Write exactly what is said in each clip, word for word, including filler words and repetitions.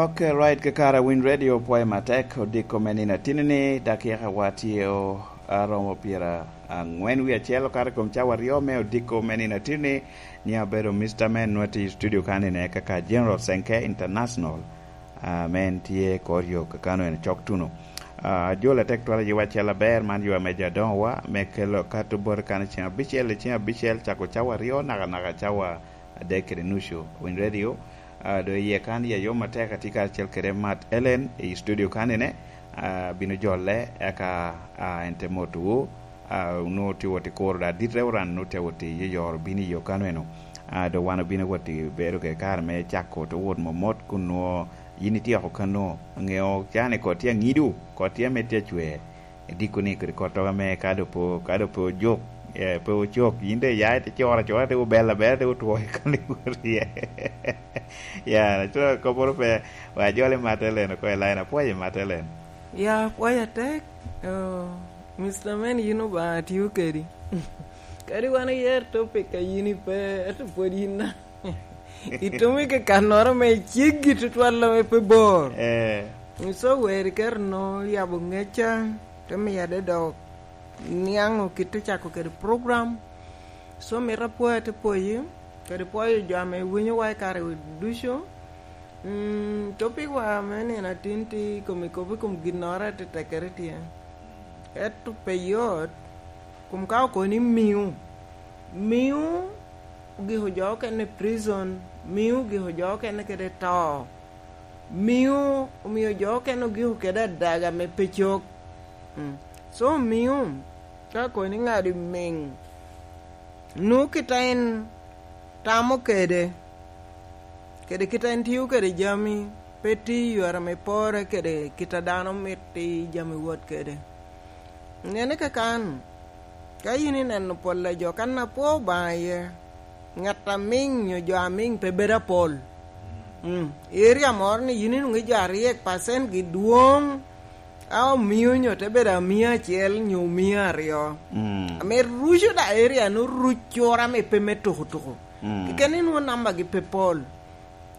Ok, right, kakare Winy Radio pwoyo matek, odiko me nino atini-ni, dakika wa tye o aromo pyera angwen wie acel okato i kom cawa aryo me odiko me nino atini-ni. Ni abedo Mister Man, nwa tye i studio kan ine kaka General Senke International, ah, men tye kor yo kakano en cok tuno. Ah, ajol atek twala yiwa acel aber, man yo ame jo adoŋowa me kelo kato bot kan i ceng abicel, i ceng abicel, cako cawa aryo, naka naka cawa adek kede nucu. Winy Radio, ah, do iye kan ya yom atek, atye karacel kede Mat Ellen i studio kan ine, ah, bino jolle, eka, ah, en te motowu, ah, onwoŋo tye wot i kuro da dit Reverend, onwoŋo tye wot i yoro bino i yo kan eno. Ah, do wan obino wot i bedo kede kare me cako to wot momot, kun nwoŋo yin ityeko kano, ŋeo cani kot tye aŋidu, kot tye ame tye acwer. Idiko ni kodi kottogo ame ka do pe, ka do pe ojuk, eh, pe ocok, yin de ya ite coro acora, te obel aber, te otwo i koni wot iye. Ya, acura kopporo pe, wa jole Mat Ellen oko i line, apwoyo Mat Ellen. Ya, apwoyo atek. Oh, Mister Man, yin Obaŋa tio kedi. Kadi wan oyer topic a yin ipe, ento pwod yin na. Itumo i kakannoro ame ceggi tutwal ame pe bor. Eh. Iso weri kero no yabo ŋecca, te miya de dok niaŋo kit te cako kede program. So mito apwoyo te pwoyi, kede pwoyo jo ame winyowa i kare ducu. Mm, topic wa me nino atin tye i kom, i kom, i kom ginnoro ate tekere tye. Ento pe yot, kom ka okoni miu, miu ogiko jo okene i prison, miu ogiko jo okene kede to, miu omio jo okene ogiko kede adaga me pe cok. Mm. So miu, ka koni ŋado i miŋ, nu kit a en tamo kede, kede kit a en tio kede jami, pe tye i yore ame pore kede kit a dano mito i jami wot kede. Nene kakan, ka yin ineno pol a jo kan apwo Obaŋa iye, ŋat amiŋ nyo jo amiŋ pe bedo apol. Mm. Area moro ni yin inwoŋo i jo aryek percent gi dwoŋ, a omio nyo te bedo amia acel nyo omia aryo. Mm. Ame ruco da area no ruc cura me pe me tuko tuko. Mm. Keken inwoŋo namba gi pe pol.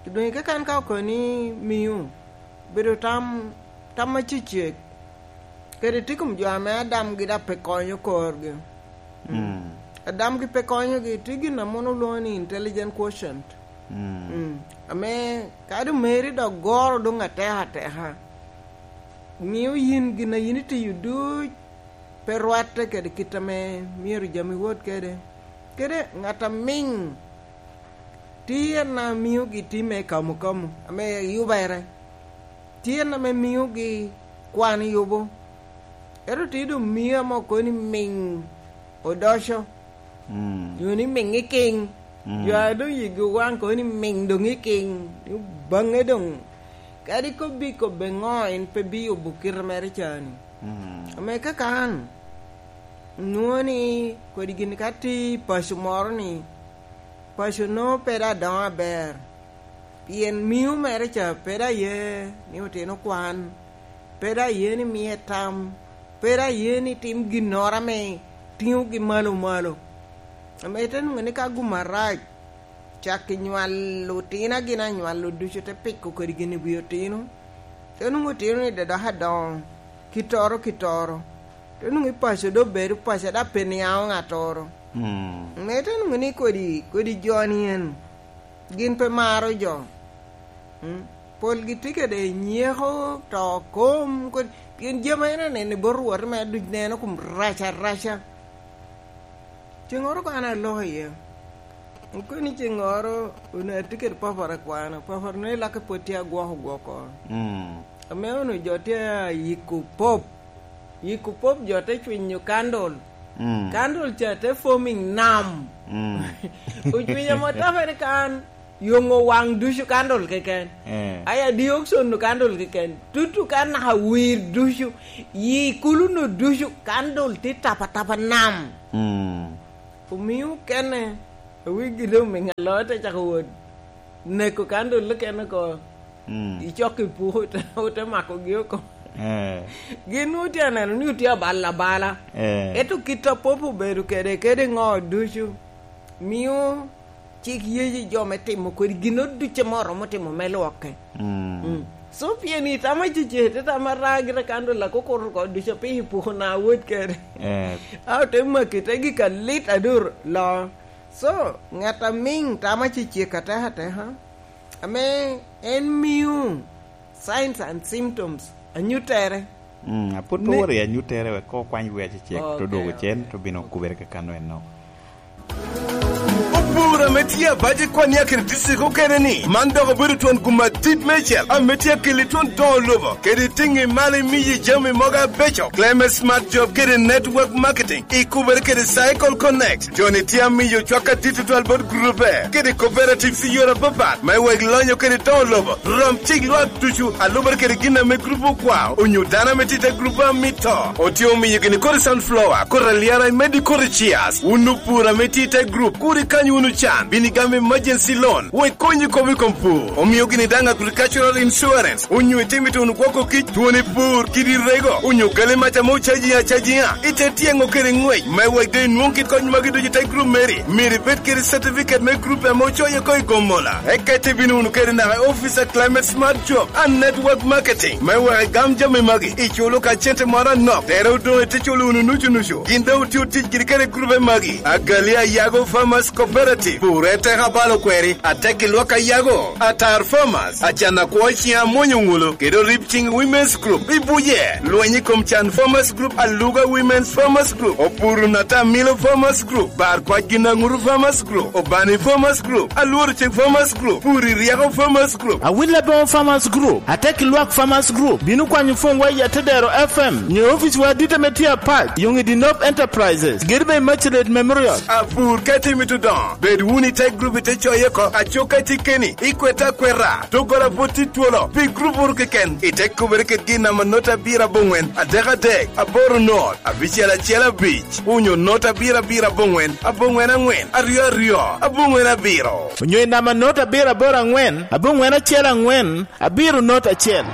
Doŋ i kakan ka okoni miu, bedo tam, tam acecek. Kede tye kom jo ame adamgi da pe konyo korgi. Mm. Mm. Adamgi pe konyogi, tye gin a mono olwoŋo ni intelligent quotient. Mm. Mm. Ame kadi omeri dok goro doŋ ateka ateka. Miyo yin gin a yin itiyo duc pe rwatte kede kit ame myero jami wot kede. Kede ŋat amiŋ tye en a miogi tim me kamukamu, ame yubere. Tye en ame miogi kwan yubo. Ento tye doŋ mio ame okoni miŋ odoco. Mm. Nyo ni miŋ i kiŋ. Mm. Jo a doŋ yigi owaŋ kono ni miŋ doŋ i kiŋ. Ni baŋe doŋ. Kadi kobbi kobbe ŋo, en pe biyubo kite mere ca ni. Mm. Ame kaka an, nwoŋo ni kodi gin ka tye i paco moro ni, paco nwoŋo pe dok adoŋo aber. Pien miu mere ca pe dok aye ni otino kwan, pe dok aye ni miye tam, pe dok aye ni tim ginnoro ame tiŋogi malo malo. Ame ite nwoŋo ni ka gum arac, cak i nywalo otino a gin anywalo ducu te piko kodi gin i wi otino. Te nwoŋo otino ni dok adoŋo, kittoro, kittoro. Te nwoŋo i paco dok bedo paco, dok pe niaŋo ŋattoro. Mm. Ame ite nwoŋo ni kodi, kodi jo ni en, gin pe maro jo. Mm. Polgi tye kede nyeko, to kom, kodi, pien jami en aneno i bot Rwot me duc neno kom rac araca. Ceŋŋoro ka an aloko iye, okoni ceŋŋoro onwoŋo atye kede papara kwano, papara nwoŋo i lake pwod tye agwoko gwoko. Mm. Ame onwoŋo jo tye ayiko pop, yiko pop jo te cwinyo candle. Mm. Candle ca te forming nam. Mm. Ocwinyo amo tape ni kan yoŋo waŋ ducu candle keken. Eh. Aya dioxon candle keken. Tutu kan naka wir ducu, yi kulu no ducu candle tye tapa tapa nam. Mm. Omio kene, awigi doŋ miŋ aloo te cako wot neko candle kene oko. Mm. Icok i puku, ote, ote makogi oko. Eh. Gin nwoŋo tye aneno ni otye abalo abala. Eh. Ento kit a pop obedo kede, kede ŋo ducu, mio cik yeyo jo me timo kodi gin ducu ame oromo timo me lwokke. Mm. Mm. So, pien itamo cece, te tamo ara gire kan do lak okuto oko ducu, pe ipuko na wot kede. Eh. A ote maki te gik alit aduro lo. So, ŋat a miŋ tamo cece ka teka teka, ame en mio signs and symptoms, anyuttere. Mm, apud pe Ne- woro i anyuttere, wek ko okwany wi acecek, to Okay. Dwogo cen, to bino kubere kakano enno. Opur ame tye abac i Kwania kede district okene ni, man dok obedo twon gum adit meicel ame tye akeli twon doŋo lobo, kede tiŋi malo imiyi jami mogo abeco. Climate Smart Job kede Network Marketing, ikubere kede Cycle Connect. Joni tye amiyo cwak adit tutwal bot grupe kede cooperatives i yore apapat, me wek lonyo kede doŋo lobo rom cik lwak ducu, alubere kede gin ame grup okwao, onyo dano ame tye i te grup a mito. Otye omiyo gini kodi sunflower, kodi alyara, imedde kodi chias. Wun opur ame tye i te grup, kur ikany wunu can, bino igamo emergency loan, wek konyi kop i kom pur. Omio gini daŋ agricultural insurance, onyo itimo ituno gwoko kic, twoni pur, kidi rego, onyo gali mac ame ocaji acajiŋa, ite tyeŋo kede ŋwec, me wek doŋ inwoŋ kit kony magi ducu i te grup meri. Myero ibed kede certificate me grup ame ocoyo oko i Gomola. Eka ite bino wunu kede naka i office a Climate Smart Job and Network Marketing, me wek igam jami magi, iculo ka cente moro anok, tere odoŋ ite culo wunu nucu nucu. Gin doŋ otye otic kede kede grupe magi, Agali Ayago Farmers Cooperative, Pure Teka Balo Kweri, Atek i Lwak Ayago, Atar Farmers, Acan Akwo Ciŋ Amwonyo Ŋulo, kede Orib Ciŋ Women's Group. I Buje, Lweny i Kom Can Farmers Group, Aluga Women's Farmers Group, Opuru Nata Milo Farmers Group, Bar Kwac Gin Aŋuru Farmers Group, Obani Farmers Group, Alworo Cik Farmers Group, Puri Ryeko Farmers Group, Awil Aboŋo Farmers Group, Atek i Lwak Farmers Group. Bino kwanyo pwonywa i Atedero F M, nyo ofice wa adit ame tye apac, Yoŋ i Dinop Enterprises, Gedibe Immaculate Memorial. Apur ka itye mito dongo, bed wunu i te grup ite coye oko, acuk ka itye keni, ikwete akweta, doggola pwod tye twolo, pi grup oro keken, ite kubere kedgi i namba not abiro aboŋwen, adek adek, aboro not, abicel acel abic, onyo not abiro abiro aboŋwen, aboŋwen aŋwen, aryo aryo, aboŋwen abiro. Onyo i namba not abiro aboro aŋwen, aboŋwen acel aŋwen, abiro not acel.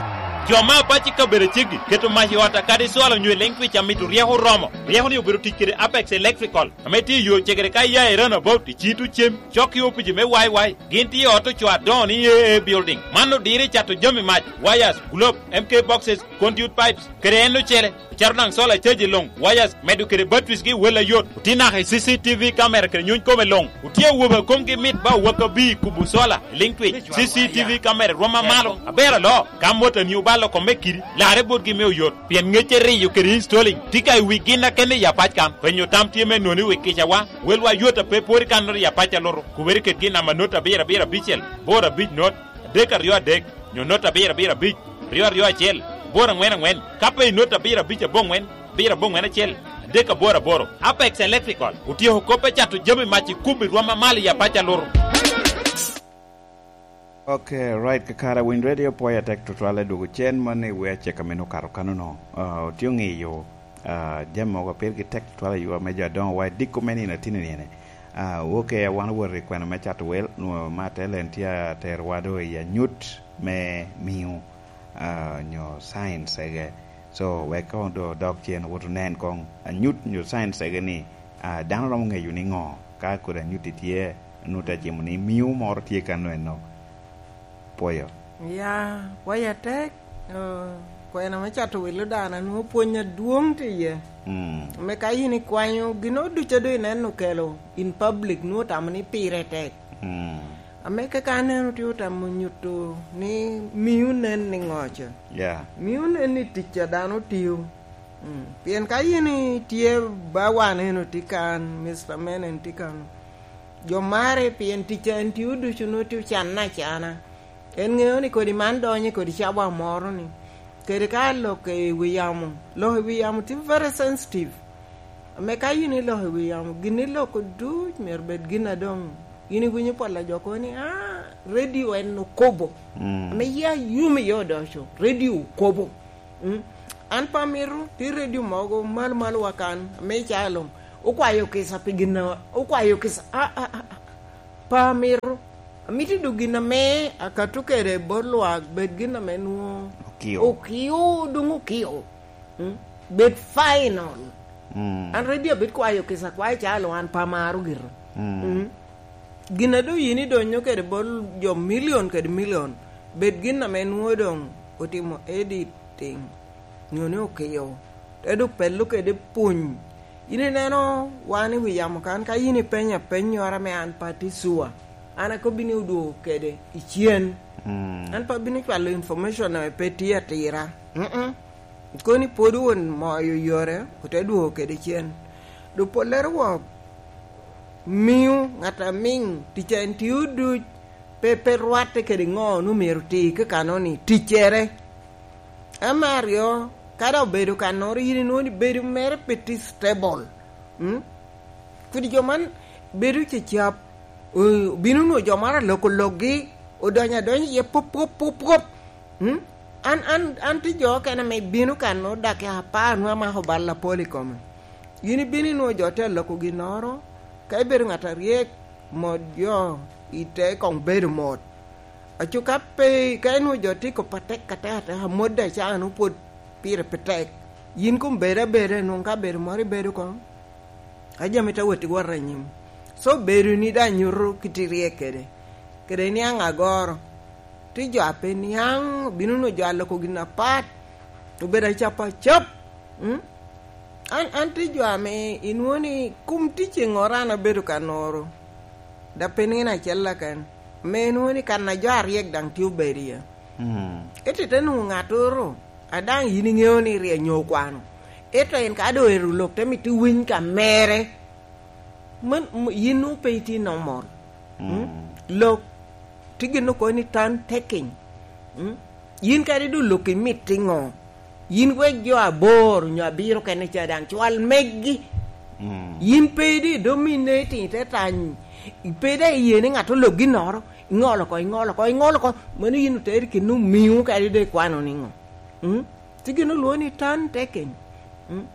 Jo me apac i kabedo ceggi keto mac i ot akadi cwalo onyo i liŋ twic amito ryeko oromo. Ryeko-ni obedo tic kede Apex Electrical, ame tye i yo cegere ka iya i Roundabout, i Cito Cem, cok i opici me Y Y. Gin tye i ot ocoo adoŋo ni A A Building. Man odiro i cato jami mac, wires, globe, M K boxes, conduit pipes, kede en ocele. Ocato daŋ solar caji luŋ, wires, medo kede batteries gi wel ayot. Otye naka i C C T V camera kede nyony kome luŋ. Otye awobe a komgi mit ba owak abir kubo solar, liŋ twic, C C T V camera rwom amalo. Aber alo, ka motani obalo kome kidi, larre botgi me oyot. Pien ŋecce riyo kede installing tye ka i wi gin akene i apac kan. Penyo tam tye me noni wi kicawa, welwa yot a pe pwod i kannoro i apac alutu. Kubere kedgi i namba not abiro abiro abicel, boro abic not, adek aryo adek, nyo not abiro abiro abic, aryo aryo acel, boro aŋwen aŋwen, ka pe i not abiro abic aboŋwen, abiro aboŋwen acel, adek aboro aboro. Apex Electrical otyeko kop me cato jami mac i kubo i rwom amalo i apac alutu. Ok, right, kakare Winy Radio pwoyo atek tutwal i dwogo cen man i wi acek a meno okato kano-nu. Ah, otye oŋeyo, ah, jami mogo a pirgi tek tutwal i yo ame jo adoŋo wa i diko me nino atino nine. Ah, ok, wan owot i kwena me cato wel, nwoŋo Martel en tye aterowa do i anyut me miŋo, ah, nyo science ege. So, wek koŋ do odok cen, owot onen koŋ anyut nyo science ege ni, ah, dano romo ŋeyo niŋo ka kodi anyutti tye, nut acimo ni miŋo moro tye kano eno. Pwoyo. Ya, pwoyo atek, oh, kwena me cato welo dano, nwoŋo pwony adwoŋ tye iye. Mm. Me ka in ikwanyo, gin ducu a doŋ ineno okelo in public, nwoŋo tamo ni pire tek. Mm. Ame kaka aneno tye otamo nyuto ni miyo nen ni ŋo ca. Yeah. Miyo nen ni tic a dano tiyo. Mm. Pien ka in itye ba wan en otye kan, Mister Men en tye kan, jo mare pien tic a en tiyo ducu nwoŋo tye ocanne acana. En ŋeo ni kodi man donyo i kodi cawa moro ni. Kede ka lok i wi yamo, lok i wi yamo tye very sensitive. Ame ka in iloko i wi yamo, gin iloko duc myero bed gin a doŋ in iwinyo pol a jo kobo ni, "Ah, radio en okobo." Mm. Ame ya yom iye odoco, radio okobo. Mm. An pe amito, tye radio mogo malo malo wa kan, ame i caa luŋ, okwayo kica pi gin a, okwayo kica, ah, ah, ah, ah. Pe amito. Amito dok gin ame akato kede bot lwak bed gin ame nwoŋo okio. Okio, dong okio. Mm? Bed final. Mm. An ready abed kwayo kica, kwayo calo an pe amaro gito. Mm. Mm. Gin a doŋ yin idonyo kede bot jo milion kede milion, bed gin ame nwoŋo doŋ otimo editing, nyo ni okio, te doŋ pello kede puny. Yin ineno wan i wi yamo kan, ka yin ipenyo apennyoro ame an pe atye cua, an akobbi ni odwogo kede icen. Mm. An pe abino cwalo information ame pe tye atira. Mm-mm. Koni pwod won moyo yore, ote dwogo kede cen. Doŋ pollere wok mio ŋat a miŋ tic a en tio duc, pe, pe rwatte kede ŋo onwoŋo myero oti kakanno-ni, ticcere. Ame aryo, ka dok obedo kannoro, yin inwoŋo ni bedo mere pe tye stable. Mm? Kodi jo man bedo cecap, o-, obino nwoŋo jo moro aloko lokgi, odonyo adonya iye pwop, pwop, pwop, pwop. Mm? An, an, an tye jo okene ame bino kan nwoŋo dakika apar nwoŋo amako bal apol i kome. Yin ibino inwoŋo jo tye aloko ginnoro, ka ibedo ŋat aryek, mot jo ite koŋ bedo mot. Aco ka pe, ka inwoŋo jo tye kop atek atek atek, amot daŋ caa nwoŋo pwod pire pe tek. Yin koŋ bed abeda, nwoŋo ka bedo moro ibedo koŋ. A jami te wot i wot anyim. So, bedoni daŋ nyuto kit iryek kede, kede niaŋ agoro. Tye jo a pe niaŋ, obino nwoŋo jo a loko gin apat, obedo acap acap. Mm? An, an tye jo ame inwoŋo ni kom tic i ŋora an abedo ka noro. Da pe nino acel aken. Ame inwoŋo ni kan a jo aryek daŋ tye obedo iye. Mm. Ento ite nwoŋo ŋattoro, a daŋ yin iŋeo ni ryek nyo okwano. Ento en ka doŋ ero lok te mito winy ka mere, man, m-, yin nwoŋo pe itye normal. Mm. Mm? Lok, tye gin okobo ni turn taking. Mm? Yin kadi doŋ lok imito iŋo? Yin wek jo aboro nyo abiro kene ca daŋ cwal megi. Mm. Yin pe doŋ minne itino te tany, pe daŋ iye ni ŋat olok ginnoro, iŋolo oko, iŋolo oko, iŋolo oko. Mano yin oteri kino omiŋo kadi doŋ ikwano niŋo? Mm? Tye gin olwoŋo ni turn taking. Mm?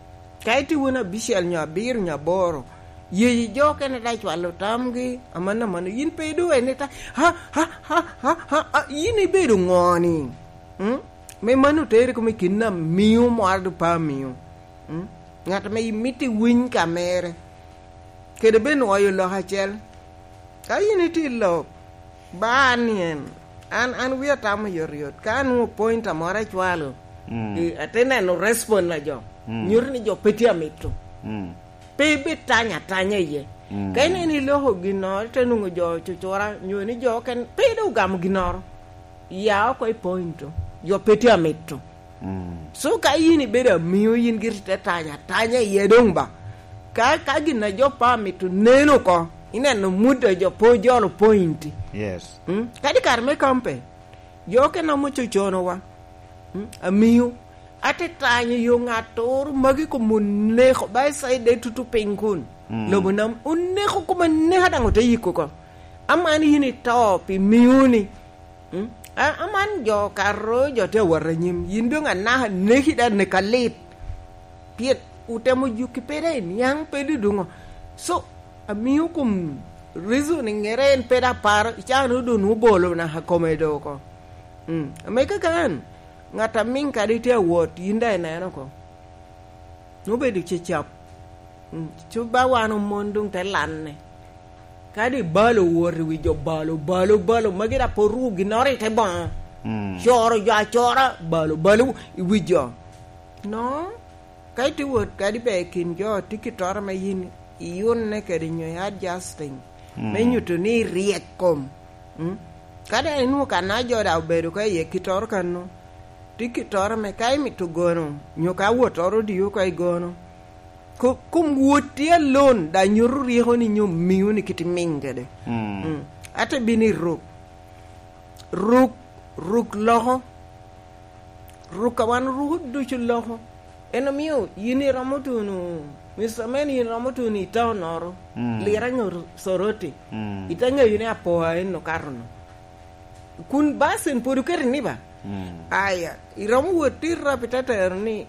Ka itye wun abicel nyo abiro nyo aboro, yeyi jo okene daŋ cwalo tamgi, amanno, amanno. Yin pe idoŋ en ita, ha, ha, ha, ha, ha, ha, yin ibedo ŋo-ni? Mm? Me mano oteri kome kin amiŋo moro doŋ pe amiŋo. Mm? Ŋat ame imito iwiny ka mere. Kede bed nwoyo lok acel. Ka yin itye i lok, ba an ni en, an, an wia tamo yot yot. Ka anwoŋo point amoro acwalo, mm, i, ate neno respond a jo. Mm. Nyuto ni jo pe tye amito. Mm. Pe ibed tanya atanya iye. Mm. Ka ineno iloko ginnoro, ite nwoŋo jo cucura, nyo ni jo okene, pe doŋ ogamo ginnoro. Ya oko i point, jo pe tye amito. Mm. So ka yin ibedo amiŋo, yin giri te tanya atanya iye doŋ ba. Ka, ka gin a jo pe amito neno oko, ineno mut a jo pe ojolo point. Yes. Mm? Kadi kare me kampe, jo okene ame ococonowa. Mm? Amiŋo. Ate tanyo yo ŋattoro magi kom oneko, ba i side de tutu piny kun. Mm. Lobo nam oneko kom aneka daŋ ote yiko oko. Aman yin ito pi miŋoni. Mm? A-, aman jo karo, jo tye awot anyim. Yin doŋ anaka neki da nek alit. Pyet otemo juki pe da i niaŋ pe duduŋo. So, amiŋo kom reasoning ere en pe da paro, icano doŋ obolo naka kome do oko. Mm. Ame kaka an, ŋat a miŋ kadi tye awot, yin da ineno oko. Nwoŋo bedo cecap. Mm, co ba wan omon doŋ te lanne. Kadi balo wot i wi jo balo, balo, balo, magi da pe oruko ginnoro i te boŋo. Mm. Coro jo acora, balo, balo i wi jo. No, ka itye wot kadi be i kin jo, tye kittoro me yin iyunne kede nyo i adjusting. Mm. Me nyuto ni iryek kom. Mm? Ka daŋ inwoŋo kan a jo daŋ obedo ka iye kittoro kano, tye kittoro me ka imito gono, nyo ka wottoro odii oko i gono. Ko-, kom wot tye alone, daŋ nyuto ryeko ni nyo miŋo ni kit imiŋ kede. Mm. Mm. Ate bino i ruk. Ruk, ruk loko. Ruk a wan oruko ducu loko. En omio yin iromo tuno, Mister Man, yin iromo tuno i taunoro, mm, Lira nyo Soroti. Mm. Ite ŋeyo ni apoa en okato no. Kun basin pwod oketo ni ba? Mm. Aya, iromo wot i rap ite tero ni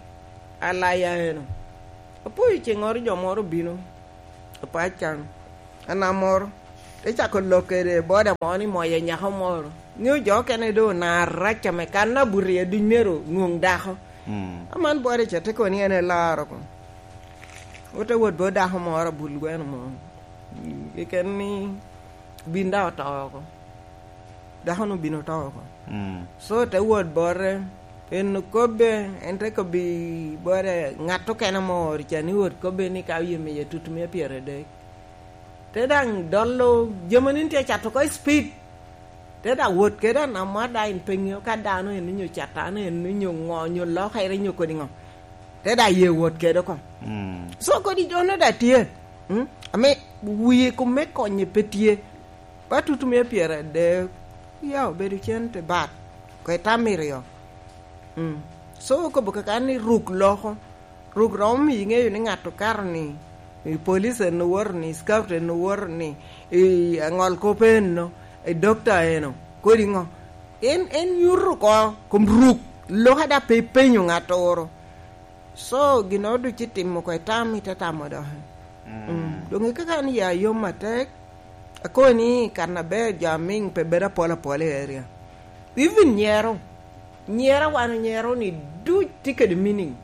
alaya eno. Apoyo ceŋŋoro jo moro obino. Apac can. Anamoro. Te cako lok kede boda mo ni moyo nyako moro. Ŋeo jo okene doŋ onaro rac ame kan abuto i aduny myero nwoŋ dako. Mm. Aman boda ca te kono ni en elaro ko. Ote wot bot dako moro abul gweno mo. Keken ni Bin daŋ oto oko. Dako-nu obin oto oko. Mm. So, te wot bote, en okobbe, en te kobbi bote, ŋat okene ame ooro ca ni wot kobbe ni ka oye miye tutumia pyeradek. Te daŋ dolo, jami ni tye cato oko i speed. Te daŋ wot kede anamwa daŋ en pe ŋeo ka dano en onyo catano en onyo ŋo, onyo lokere, onyo kodi ŋo. Te daŋ ye wot kede oko. Mm. So kodi jo-nu daŋ tye, mm, ame wie kom me konye pe tye. Ba tutumia pyeradek, ya obedo cente bat, kwe tam iryo. Mm. So okobo kaka ni ruk loko. Ruk romo miyi ŋeyo ni ŋat okato ni, i police en owoto ni, i scout en owoto ni, i aŋol kop eno, i dokta eno, kodi ŋo. En, en nyuto oko kom ruk, lok a daŋ pe ipenyo ŋattoro. So, ginnoro ducu itimo oko itam, ite tamo doki. Mm. Mm. Doŋ i kaka an ya yom atek, akobo ni kan aber jo amiŋ pe bedo apol apol i area. Even nyero, nyero a wan onyero ni duc tye kede meaning.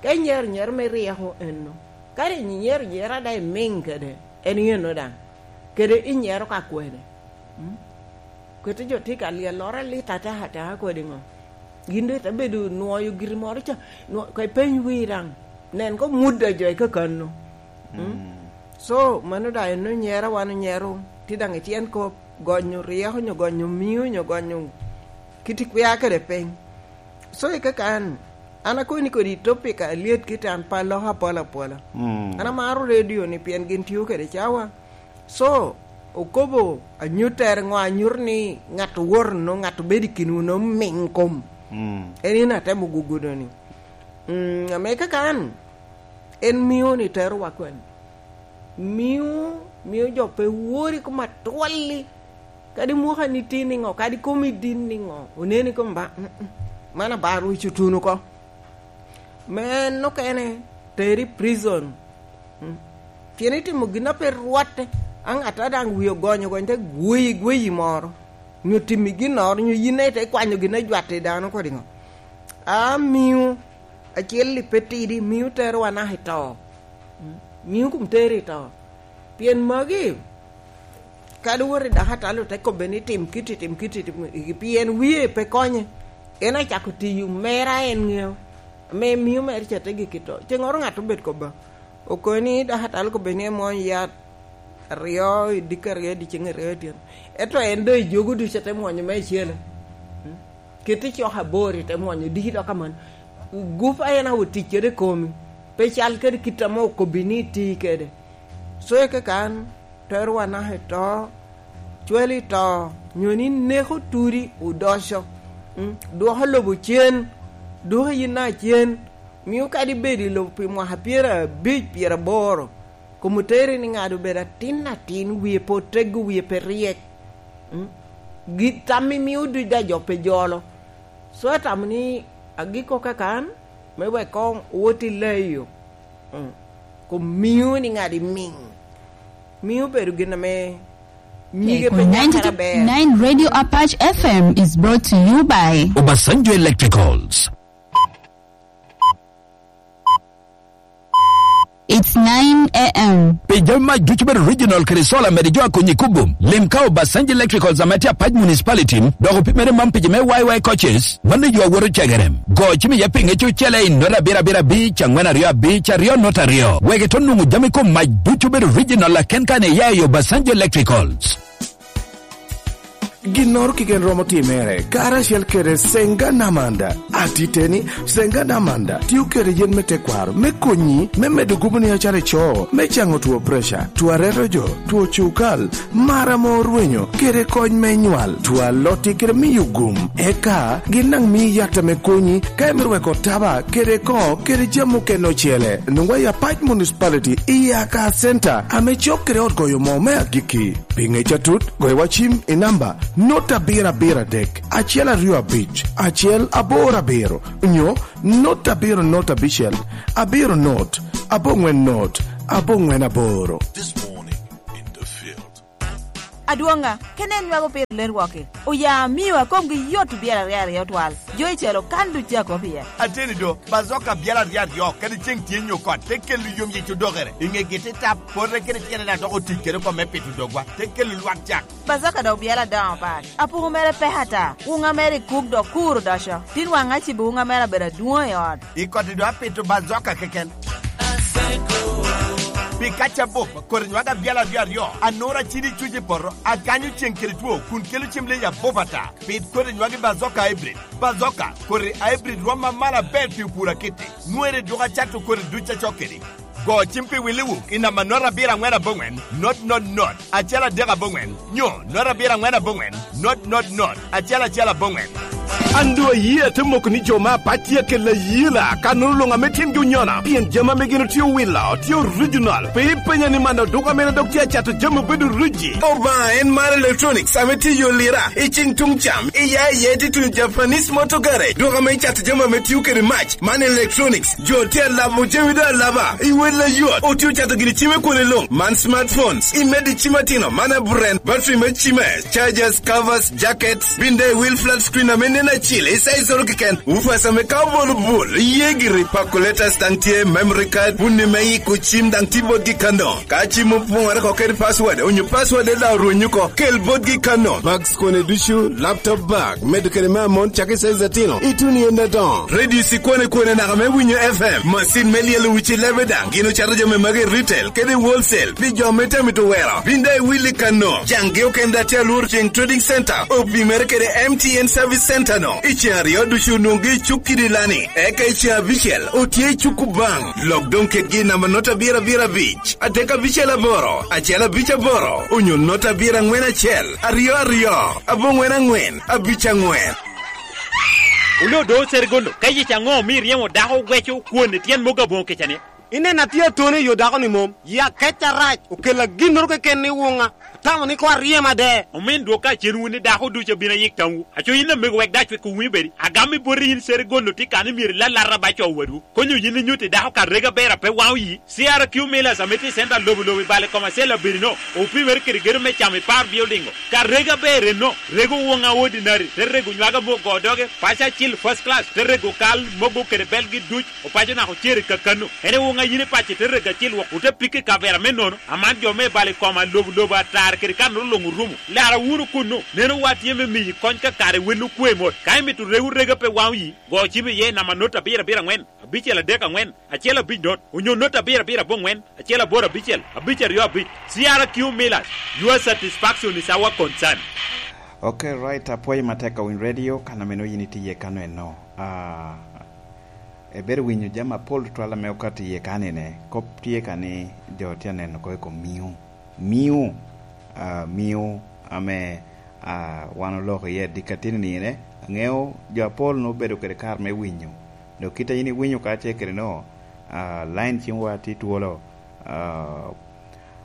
Ka inyero nyero me ryeko eno, kadi inyero nyero a daŋ imiŋ kede, en eno daŋ. Kede inyero ka kwene. Mm? Kete jo tye ka lyelloro alit ataka ataka kodi ŋo. Gin doŋ ite bedo nwoyo giri moro ca, nwo-, ka ipeny wii daŋ. Nen ko mudda jo i kakano. Mm? Mm. So, mano daŋ en onyero, wan onyero, tye daŋ i tyen kop, gonyo ryeko, onyo gonyo miu, onyo gonyo kit i kwia kede piny. So, i kakan, an akobo ni kodi topic alyet kit an pe aloko apola apola. Mm. An amaro radio ni pien gin tio kede cawa. So, okobo anyuttere ŋo anyuto ni ŋat owoto no, ŋat obedo i kinwu no miŋ kom. Mm. En in atemo gugudo ni. Mm, ame kakan, en mio ni tero wa kwen. Mio, mio jo pe wori kom atwalli. Kadi mwaka ni tin niŋo, kadi komi din niŋo, oneni kom ba, mm, mm. Man abar wic otuno oko. Me en okene, teri prison. Mm. Pien itimo gin a pe rwatte, a ŋat a daŋ wie ogonyo gony te gweyi, gweyi moro. Nyo timmi ginnoro, nyo yin ite kwanyo gin a jwatte i dano kodi ŋo. A miu, acel i pe tidi, miu tero wa naka i to. Mm. Miu kom tero i to. Pien magi, kadi wot i dakatalo te kobbe ni tim kiti, tim kiti, tim kiti, pien wie pe konye. En acako tiyo mera en ŋeo. Ame mio mere ca te gik i to. Ceŋŋoro ŋat obed kobba. Okoni dakatalo kobbe ni emwony yat aryo, i dikki aryo, i diceŋ aryo, i tyen. Ento en doŋ i jogo ducu te mwonyo me icele. Mm. Kit i cok abor ite mwonyo diki dok aman. Gup a en awo tic kede i komi. Pe cal kede kit ame okobbi ni iti kede. So i kakan, tero wa naka i to, cwalo i to, nyo ni neko tudi odoco. Mm, dwoko lobo cen, dwoko yin naka cen, mio kadi bedo i lobo pi mwaka pyerabic, pyeraboro. Kom oteri ni ŋat obedo atin atin, wie pe oteggo, wie pe ryek. Mm? Gi tammi mio duc daŋ jo pe jolo. So atamo ni agikko kakan, me wek koŋ owot i leyo. Mm. Kom mio ni ŋat imiŋ. Mio bedo gin ame nyige pe nyakere aber. Ninety-two point nine Radio Apache F M is brought to you by Obasanjo Electricals. It's nine a m. Pi jami mac ducu bedo original kede solar mede jo a Konyi Kubum, lim ka Obasanjo Electricals ame tye Apac Municipality, dok opimere man pi jo me Y Y coaches, mano yo a woto cegere. Go cim iye pinge cucele i nota abiro abiro abic, angwen aryo abic, aryo nota aryo. Wek ito nwoŋo jami kom mac ducu bedo original aken kan iya i Obasanjo Electricals. Ginnoro keken romo timere, karacel kede Senga Namanda. Atiteni, Senga Namanda tio kede yen me tekwaro me konyi me medo gubo ni acara ico, me caŋo two preca, two areto jo, two cukal, mar ame orwenyo, kede kony me nywal, two alotti kede miyo gum. Eka gin daŋ mii yat ame konyi ka imito weko taba kede ko kede jami okene ocele. Nwoŋwa i Apac Municipality i Aka Center ame cok kede ot goyo moo me agikki. Pi ŋec atut, goyo wa cim i namba not abiro abiro adek, acel aryo abic, acel aboro abiro, nyo not abiro not abicel, abiro not, aboŋwen not, aboŋwen aboro. This morning in the field. Adwoŋa, kene en nywako piro ler wok-ki. Oya amio a komgi yot i byel aryo aryo twal. Jo i calo kan duc tye akop iye. Ateni do, bazoka byel aryo aryo, kadi ceŋ tye nyo kot, te kelo yom yic odokere. I ŋegi te tap, pote kede tyene na dok otic kede oko me pito dogwa, te kelo lwak cak. Bazoka dok byel adoŋo pat. Apuku mere pek ata. Wuŋa mere i kuk dok kur odoco. Tin waŋ acibo wuŋa mere abedo adwoŋ i ot. I koti do apito bazoka keken. Pi kaca bup, kodi nywag abyal aryo aryo, anura cidi cuc i poto, akanyo ceŋ kede two, kun kelo cem leyi abup ata. Pit kodi nywag i bazoka hybrid. Bazoka, kodi hybrid rom ma malo aber pi opur akiti. Nwere dwogo acato kodi duc acok kedi. Go cim pi Willy Wuk i namba not abiro aŋwen aboŋwen, not not not, acel adek aboŋwen, nyo not abiro aŋwen aboŋwen, not not not, acel acel aboŋwen. An doŋ ayie ate moko ni jo me apac tye akella ayela, ka nono luŋ ame tyengi onyona, pien jami ame gin otye owilo, tye original. Pe ipenya ni man oduka mene dok tye acato jami obedo riji. Obaŋa en mar electronics ame tye i yo lira, i ceŋ tuŋ cam, i ya i ya tye tuŋ Japanese Motor Garage, duka ame cato jami ame tio kede mac, man electronics. Jo tye alabo jami do alaba, i wel ayot, otye ocato gini cime kwone luŋ, man smartphones, i medo i cim atino, man aburen, battery me cime, chargers, covers, jackets, bin dai wheel flat screen ame nen acil, i size oro keken, woofers ame ka obolo bul, iye giri, calculators daŋ tye, memory card, bunni me yiko cim daŋ tye botgi kano. Ka cim opoŋore oko kede password, onyo password daŋ orwenyo oko, kel botgi kano. Bags kone ducu, laptop bag, medo kede me amon cakki size atino, ituno i ende adoŋo. Radio cikwane kwane naka me winyo F M, macin me lyelo wic i lebe daŋ, gin ocato jami magi i retail kede i wholesale, pi jo me tye amito wero. Bin daŋ iwil i kano, caŋgi okene daŋ tye alworo ceŋ Trading Center, opimere kede M T N Service Center no. I ceŋ aryo ducu onwoŋgi i cuk kidi lani, eka i ceŋ abicel otye i cuk Kubaŋ. Lok doŋ kedgi i namba not abiro abiro abic, adek abicel aboro, acel abic aboro, onyo not abiro aŋwen acel, aryo aryo, aboŋwen aŋwen, abic aŋwen. Oloo do Serigondo, ka yec aŋo omio iryemo dako weco kwon i tyen mogo aboŋo kica-ni? Ineno atye atone i yo dako-ni mom, ya kec arac, okella ginnoro keken ni wuŋa, atamo ni koŋ aryem ade. Omin dwok ka cen wun ni dako ducu abino ayik tamwu. Aco yin amego wek dac wek owinyo bedi, agam i boti yin Serigondo tye kan imyero ilalata ba co wadwu. Konyo yin inyutti dako ka rega ber a pe waŋo yi. C R Q Millers ame tye i center lobo lobo i bale Commercial Abirino, opimere kede gedo me camo i par building-o. Ka rega ber enno, rego woŋa ordinary, te rego nywaga mogo doge, paco acil first class, te rego kal mogo kede belgi duc, opaco naka ocer i kakano. En i woŋa yin i paco te rego acil wok, ote piki i kavera me nono, aman jo me bale koma lobo lobo atara kede kanoro luŋ orumo. Lara wunu kunnu, neno wa tye me miyi kony ka kare wel okwe mot. Ka imito rego rega pe waŋo yi, go cim iye i namba not abiro abiro aŋwen, abicel adek aŋwen, acel abic not, onyo not abiro abiro aboŋwen, acel aboro abicel, abic aryo abic. C R Q Millers, your satisfaction is our concern. Ok, right, apwoyo matek ka winy radio, kan ameno yin itye iye kano eno. Ah, ebedo winyo jami apol tutwal ame okato iye kanine. Kop tye ka ni jo tye aneno oko i kom miu. Miu, ah, miu ame, ah, wan oloko iye adikatini nine. Aŋeo jo apol nwoŋo obedo kede kare me winyo. Dok kit a yin iwinyo kacel kede no, ah, line cimwa tye twolo, ah,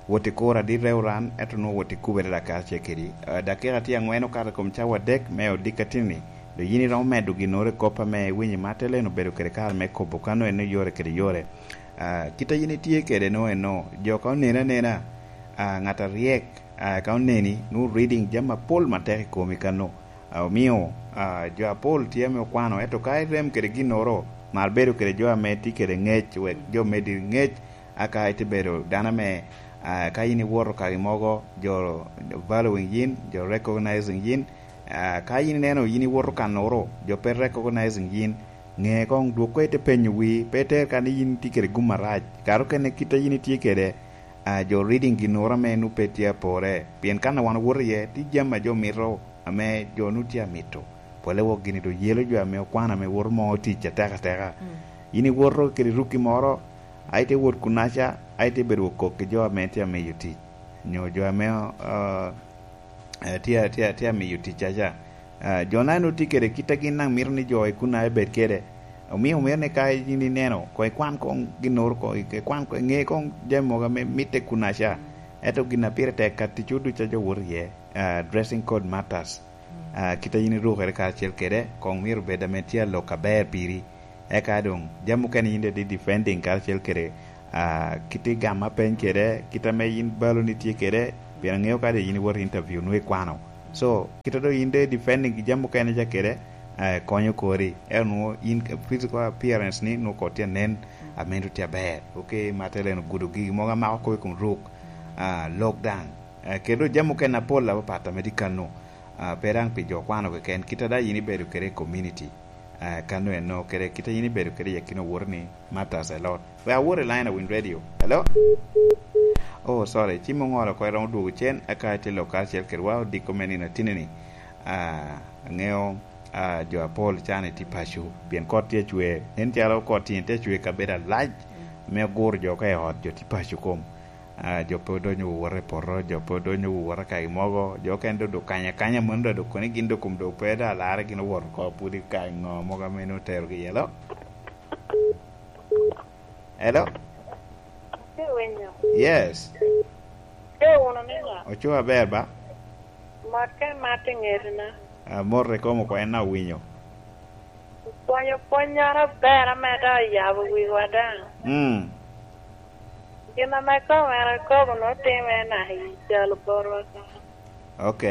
wot i kuro adit reo ran, ento nwoŋo wot i kubere dak kacel kedi. Ah, dakika tye aŋwen okato i kom cawa adek me odikatini, dok yin iromo medo ginnoro i kop ame iwinyo i Martelen obedo kede kare me kobo kano en oyore kede yore. Ah, kit a yin itye kede no eno, jo ka oneni anena, ah, ŋat aryek, ah, ka oneni, nwoŋo reading jami apol matek i komi kano. Ah, omio, ah, jo apol tye ame okwano, ento ka irem kede ginnoro, mar bedo kede jo ame tye kede ŋec, wek jo medi ŋec, aka ite bedo dano ame, ah, ka in iwoto kaki mogo, jo valuing yin, jo recognizing yin, ah, ka in ineno yin iwoto kanoro, jo pe recognizing yin, ŋe koŋ dwok ko ite penyo wii, pe iter ka ni yin itye kede gum arac. Kare okene kit a yin itye kede, ah, jo reading ginnoro ame nwoŋo pe tye apore, pien kan a wan owoto iye, tye jami a jo mito, ame jo nwoŋo tye amito. Pole wok gini doŋ yelo jo ame okwano ame woto moo tic atek ateka. Mm. Yin iwoto kede rukki moro, a ite wot kunaca, a ite bedo wok kok ki jo ame tye amiyo tic, nyo jo ame, ah, eh, tye, tye, tye amiyo ticcaca. Ah, jo na nwoŋo tye kede kit a gin daŋ mito ni jo i kunaca ebed kede. Omio mito ni ka yin ineno, koŋ ikwan koŋ ginnoro, koŋ ik-, ikwan koŋ, iŋe koŋ jami mogo ame mitte kunaca. Ento gin a pire tek ka ticwu ducu a jo woto iye, ah, dressing code matters. Ah, kit a yin irukere karacel kede, koŋ myero bed ame tye alok aber piri. Eka doŋ, jami mukene yin daŋ itye defending karacel kede, ah, kit igamo apeny kede, kit ame yin baloni tye kede, Pien aŋeo kadi yin iwoto i interview, nwoŋo ikwano. So, kite doŋ yin doŋ i defending jami mukene ca kede, eh, konyo kori. Ento nwoŋo yin physical appearance ni nwoŋo kodi tye anen, amento tye aber. Ok, Matelen ogudo gigi mogo amako kop i kom ruk, ah, lok daŋ. Eh, kede doŋ jami mukene apol apapat ame tye kano. Ah, pe daŋ pi jo kwano keken, kite daŋ yin ibedo kede i community. Ah, kano eno kede kite yin ibedo kede i akina owoto ni matters a lot. We awot i line awiny radio. Hello? Oh, sorry. Cim oŋolo oko, iromo dwogo cen, aka itye lok karacel kedwa odiko me nino atini-ni. Ah, aŋeo, ah, jo apol can itye paco, pien kot tye acwe. Nen calo kot tye, tye acwe kabedo alac, me guro jo ka i ot, jo tye paco kom. Ah, jo pe odonyo wowot i poto, jo pe odonyo wowot i kagi mogo, jo okene doŋ, doŋ kanya kanya mano doŋ, doŋ kono gin doŋ kom doŋ pe doŋ alarre gin owoto oko, pwod i kare ŋo mogo ame nwoŋo oterogi iye. Hello? Hello? Atye winyo. Yes. Tye wunu ni ŋo? Oco aber ba? Mot ka imat i ŋetina. Ah, mot ikomo oko en awinyo. Opwonyo pwonnyoro aber ame doŋ oyabo wiwa daŋ. Mm. Gin ame koŋ en akobo nwoŋo timme naka i cal botwa ka. Ok.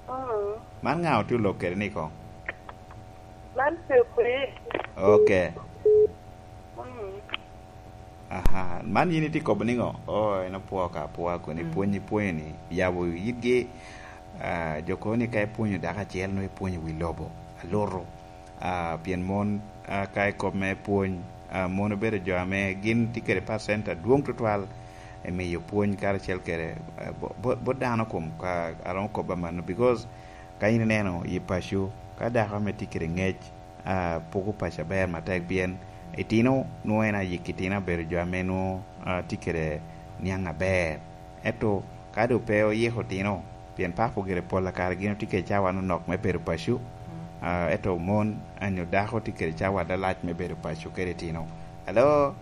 Mm. Man ŋa otye olok kede ni koŋ? Man Cukri. Ok. Mm. Aha, man yin itye kobo niŋo? Oh, en opwoo ka apwoa kun, mm, ipwony, ipwonyo ni yabo yitgi. Ah, jo kobo ni ka ipwonyo dako acel, nwoŋo ipwonyo wi lobo alutu. Ah, pien mon, ah, ka i kop me pwony, ah, mon obedo jo ame gin tye kede pacent adwoŋ tutwal i miyo pwony karacel kede, ah, bo-, bo-, bot dano kom ka aromo kop amanno, because ka in ineno i paco, ka dako ame tye kede ŋec, ah, poko paco aber matek, pien itino nwoŋo en ayik itino abedo jo ame nwoŋo, ah, tye kede niaŋ aber. Ento ka doŋ pe oyiko otino, pien papo gire pol kare gin otye kede cawa nonok me bedo paco, ah, ento mon anyo dako tye kede cawa lalac me bedo paco kede itino. Hello?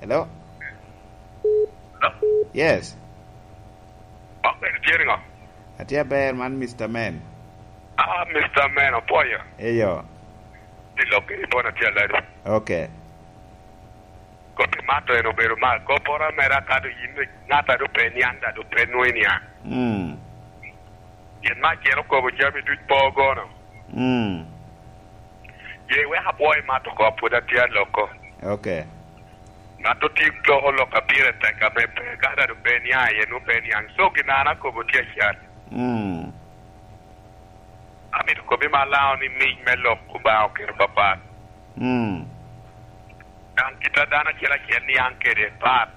Hello? Yes. Ok, itye niŋo? Atye aber, man Mister Man. Ah, Mister Man, opwoyo. Eyo. Tye lok kede bon atye aladi. Ok. Kop imato en obedo mal. Kopporo mere aka doŋ yin ŋat a doŋ pe niaŋ, da doŋ pe nwoŋo iniaŋ. Mm. Pien me acel okobo jami duc po gono. Mm. Ye wek apwo imat oko, pwod atye aloko. Ok. Ŋat otye loko lok a pire tek ame pe, ka da doŋ pe niaŋ iye, nwoŋo pe niaŋ. So, gin an akobo tye acan. Mm. Amito kobbi malaŋo ni mic me lok Obaŋa oketo papat. Mm. Daŋ kit a dano acel acel niaŋ kede pat.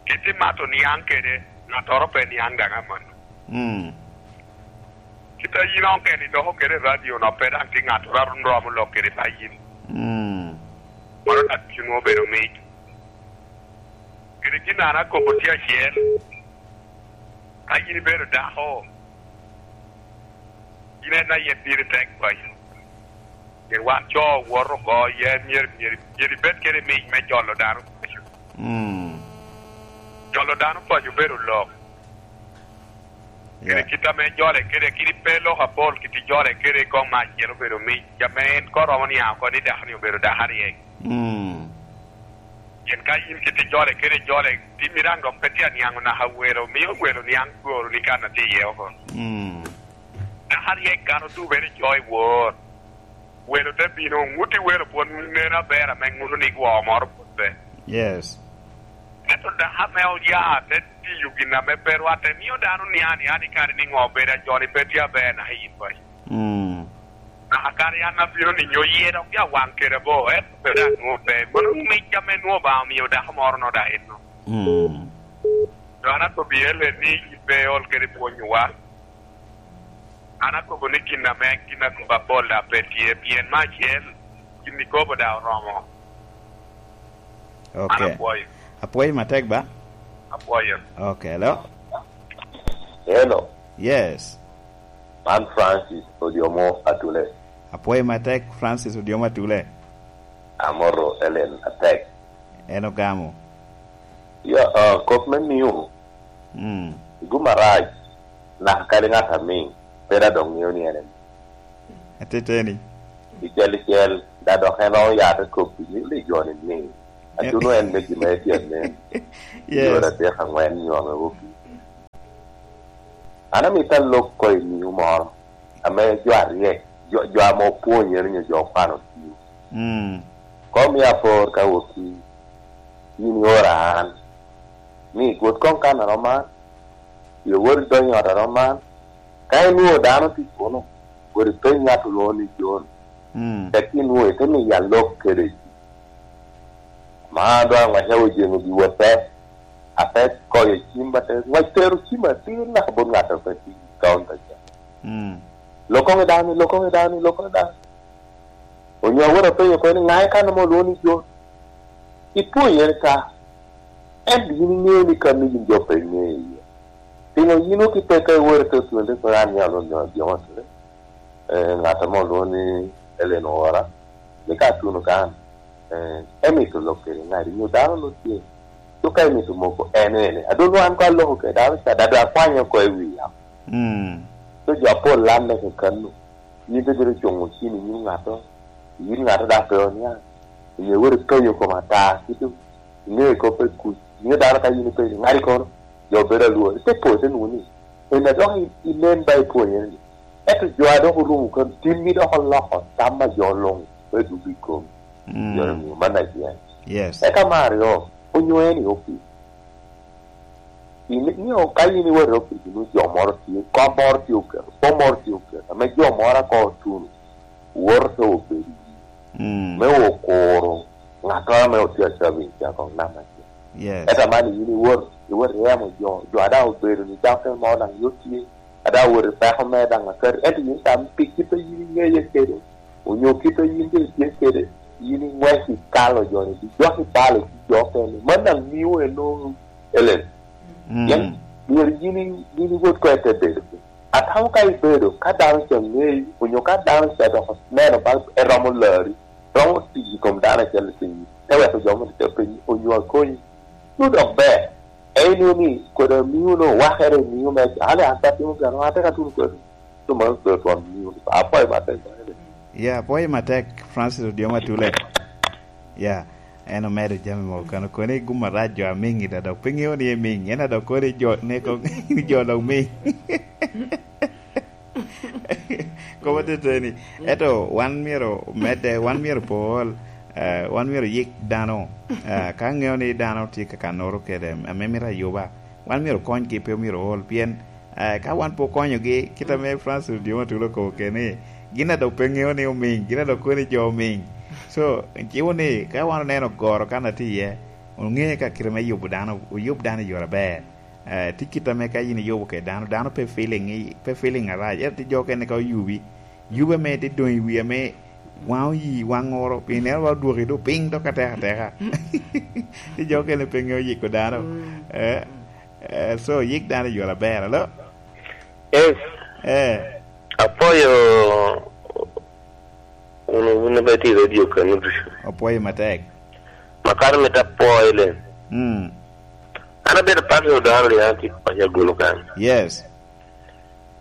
Kit imato niaŋ kede, ŋattoro pe niaŋ daŋ amanno. Mm. Kit a yin okene idoko kede i radio no, pe daŋ tye ŋattoro a romo lok kede pa yin. Mm. Mano daŋ ducu nwoŋo obedo mic. Kede gin an akobo tye acel, ka yin ibedo dako, yin en aye piri tek paco. Pien wan co owoto oko, ye myero, myero, myero ibed kede mic me jolo dano paco. Mm. Jolo dano paco bedo lok. Kede, yeah, kit ame jole kede, kit pe lok apol, kit ijole kede i kom acel obedo mic, ame en koŋ romo niaŋ oko ni dako-ni obedo dako aryek. Mm. Pien ka yin kit ijole kede, ijole, timmi daŋ dok pe tye aniaŋo naka welo, mio welo niaŋ goro ni kan atye iye oko. Mm. Dako aryek kan odubere co i wor. Welo te bino, ŋuti welo pwod nen aber ame ŋuto ni gwo moro pwod pe. Yes. Ento dako ame oya te tiyo gin ame pe rwatte, mio dano niaŋ aniaŋa ni kare ni ŋo obedo ajoni pe tye aber naka yin paco. Mm. Naka kare an abino ni nyo ye dok ya waŋ kede bo, ento pe daŋ nwoŋo pe. Mano mic ame nwoŋo Obaŋa omio dako moro no daŋ enno. Mm. Dok an akobbi ele ni yin pe iol kede pwonyowa. An akobo ni gin ame gin akobo apol daŋ pe tye, pien me acel, gin ikobo daŋ oromo. Ok. An apwoyo. Apwoyo matek ba? Apwoyo. Ok, hello? Hello. Yes. Man Francis Odiomo Atule. Apwoyo matek, Francis Odiomo Atule. Amoto Ellen atek. En ogamo. Ya, ah, kop me niu. Mm. Igu marac, naka kadi ŋat amiŋ, pe da dok ŋeo ni en emiŋ. Ateteni. Icel icel, da dok en oya te kobbi ni, ni joni miŋ. Atuno en me gin ma etye anen. Yes. Yore adek aŋwen nyo ame wok. An amito alok ko i miu moro, ame jo aryek, jo, jo ame opwonyere nyo jo okwano tio. Mm. Kom i apor ka wok i, in iora an. Ni, gut koŋ kan a romo an, i owot i dony ot a romo an, ka inwoŋo dano tye kuno, wot ipeny ŋat olwoŋo ni John. Mm. Tek inwoŋo ite miyo alok kede. Ma doŋ aŋwaca ojeŋo giwa te, ate koyo cim, ate ŋwac tero cim atir naka bot ŋat a pe tye i kaunta ca. Mm. Lok koŋ i dano, lok koŋ i dano, lok koŋ i dano. Onyo awot apenyo oko ni, "Ŋa i kan ame olwoŋo ni John?" Ipwonyere ka, ento yin iŋeo ni kan ni yin jo pe iŋeo iye. Pingo yin ok ipeke iwot ite otwende pe an ni alwon jo, jo, eh, ŋat ame olwoŋo ni Ellen Owora, ni ka atuno kan, eh, emito lok kede ŋadi, nyo dano nwoŋo tye. Dok ka emito moko en ene. Adwon wan ka aloko kede dano ca, dada akwanyo oko i wi yamo. Mm. So jo apol lanne kekanu. Yin te bino cuŋo cim i nyim ŋato, yin ŋato daŋ pe oniaŋ. Inyo wot ipenyo kom ata, kit iŋeo kop i kuc. Inyo dano ka yin ipenyo, ŋadi kono? Jo bedo alwor. Ite po, ite nwoŋo ni, en a dok i-, inen ba ipwonyere ni. Ento jo a dok orumo kano, timgi dok oloko tam a jo luŋ, me dwogo i komi. Mm. Jo ni man acel. Yes. Eka me aryo, onyo en i opic. In, inyo ka in iwot i opic, inwoŋo jo moro tye, kom moro tye oketo, kom moro tye oketo, ame jo moro ako otuno, woto te obedo i yie. Mm. Me okuro ŋattoro ame otye acabit, ca koŋ nam acel. Yes. Ento man yin iwot, iwot iemo jo, jo a daŋ obedo ni dok kene moro daŋ yot tye, a daŋ owot i peko mere daŋ akati, ento yin tam pi kit a yin iŋeye kede, onyo kit a yin doŋ itye kede, yin iŋwec ikalo jo ni, dok ibalo ki jo okene. Man daŋ miyo en nwoŋo Ellen. Mm. Pien myero yin i-, yin iwot ko ite bedo piny. Atamo ka ibedo, ka dano ca ŋeyi, onyo ka dano ca dok oneno ba eromo lari, romo tic i kom dano acel i piny, te weko jo moni te penyi, onyo akonyi. Nwoŋo dok ber. En nwoŋo ni, kodi amiu no, wakere amiu me, ale an pe atimo gano, an tek atuno kodi. So, mano pe otwon amiu. Apwoyo matek, bene. Ya, apwoyo matek, Francis Odiomo Atule. Ya, en omedo jami mogo kano koni gum arac jo amiŋ i da, dok pe ŋeo ni emiŋ, en a dok koni jo, ne ko, jo dok miŋ. Kop ateteni. Ento wan myero medde, wan myero pol, eh, wan myero yik dano. Eh, ka ŋeo ni dano tye ka kanoro kede, ame mito ayuba, wan myero konygi, pe myero ol, pien, eh, ka wan pe okonyogi, kit ame Francis Odiomo Atule okobo kene ni, gin a dok pe ŋeo ni omiŋ, gin a dok kono ni jo omiŋ. So, ciwo ni, ka wan oneno goro kan atye iye, oŋe ka kite me yubo dano, oyub dano i yore aber. Eh, tye kit ame ka in iyubo kede dano, dano pe feeling i, pe feeling arac. Ento tye jo okene ka oyubi, yube ame tye doŋ i wi ame waŋ oyi, waŋ oro, pi neno ba odwoki doŋ piny dok atek ateka. Tye jo okene pe ŋeo yiko dano. Mm. Eh, eh, so, yik dano i yore aber, alo? Yes. Eh. Apwoyo wun, wun ame tye i radio kano ducu. Apwoyo matek. Makar mito apwoyo le. Mm. An abedo pastor Odaro Lian, tye paco Agulu kan. Yes.